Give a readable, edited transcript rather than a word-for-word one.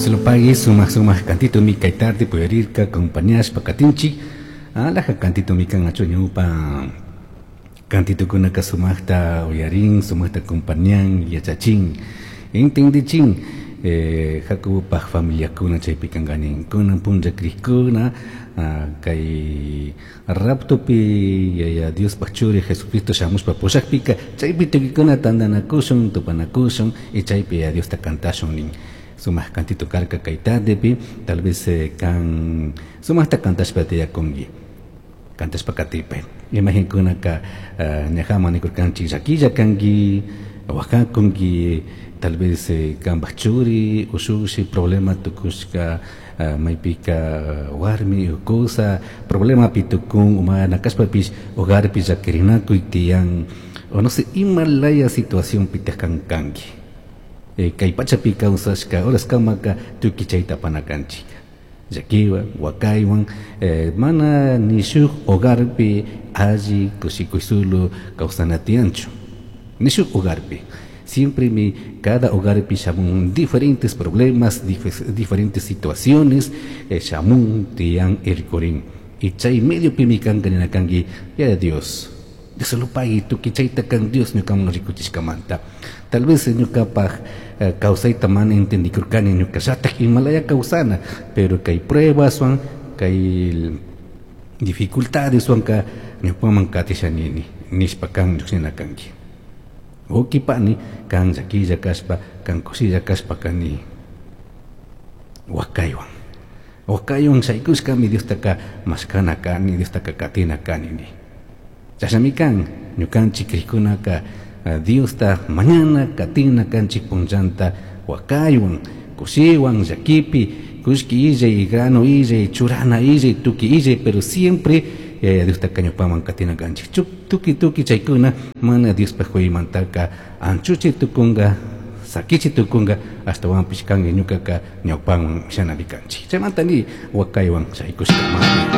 Dios lo pague, sumaq sumaq cantitomi kay tarde puyarirka acompañashpa katinchik. Alaja cantitomi kan achu ñawpa cantitokunaka sumaqta uyarin, sumaqta acompañan, yachachin, entendichin. Jacobopaj familiakuna chaypi kankanin kunan punlla crikuna kay raptopi Yaya Diospaj churi Jesucristo shamushpa pushakpika chaypi tukikuna tantanakushun, tupanakushun y chaypi Yaya Diosta cantashun nin. Sumaq cantito karka kay tardepi, tal vez kan sumaqta cantashpa tiyakunki. Cantashpa katipay. Imaginkunaka ñajaman nikurkanchik llaquilla kanki, waqakunki, tal vez kanpaj churi, ushushi problema tukushka maypika warmi o kusa problemapi tukun mana kashpapish hogarpi llakirinakuy tiyan o no sé ima laya situacionpitaj kan kanki. Kay pachapi kawsashka horaskamaka tukuy chayta apana kanchik. Llakiwan, wakaywan, mana ni shuk hogarpi alli kushikuy solo kawsana tiyanchu. Ni shuk hogarpi. Siempre mi cada hogarpi shamun diferentes problemas, diferentes situaciones, shamun tiyan irkurin. Y chay mediopimi kanka nina kanki, ya Dios, Dios lo pague, tukuy chayta kan Dios ñukaman rikuchishkamanta. Tal vez ñukapaj kawsayta mana entendikurkani ñukallatak imalaya kawsana, pero kay pruebaswan, kay dificultadeswanka ñukaman katishanini, nishpa kan lluqshina kanki. Ukipani kan llaquilla kashpa, kan kushilla kashpa kani wakaywan. Wakaywan shaykushkami Diostaka mashkana kani, Diostaka katina kani ni. Chashnami kan ñukanchik krikkunaka Diosta mañana katina kanchik punllanta wakaywan, kushiwan, llakipi, kullki illay, grano illay, churana illay, tukuy illay, pero siempre Diostaka ñupaman katina kanchik. Tukuy tukuy chaykuna mana Diospaj kuymantaka anchuchi tukunka, sakichi tukunka, ashtawanpish kan ñukaka ñawpanman shanami kanchik. Chaymanta ni wakaywan shaykushka.